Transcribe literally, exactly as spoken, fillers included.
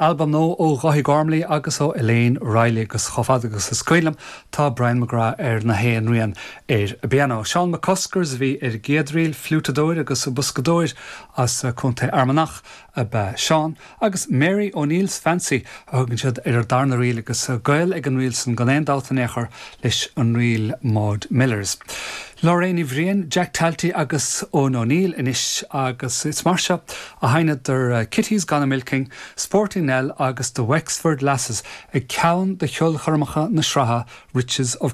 Albam nua ó Dháithí Gormley agus ó Elaine Riley agus chomh fada agus is cuimhin liom tá Brian McGrath ar na haon rian ar an bpianó. Seán McCuskers a bhí ar an gcéad ríl fliútadóir agus boscadóir as Contae Fhear Manach ab ea Seán agus Mary O'Neill's Fancy a thugann siad ar an darna ríl agus gaol ag an ríl san gan aon dabht in aon chor leis an ríl Maud Millers. Lorraine Ní Bhriain, Jack Talty agus Eoin O'Neill anois agus is mar seo a sheinneadar Kitty's Gone a-Milking, Sporting Nell agus the Wexford Lasses ag ceann de cheolchoirmeacha na sraithe Riches of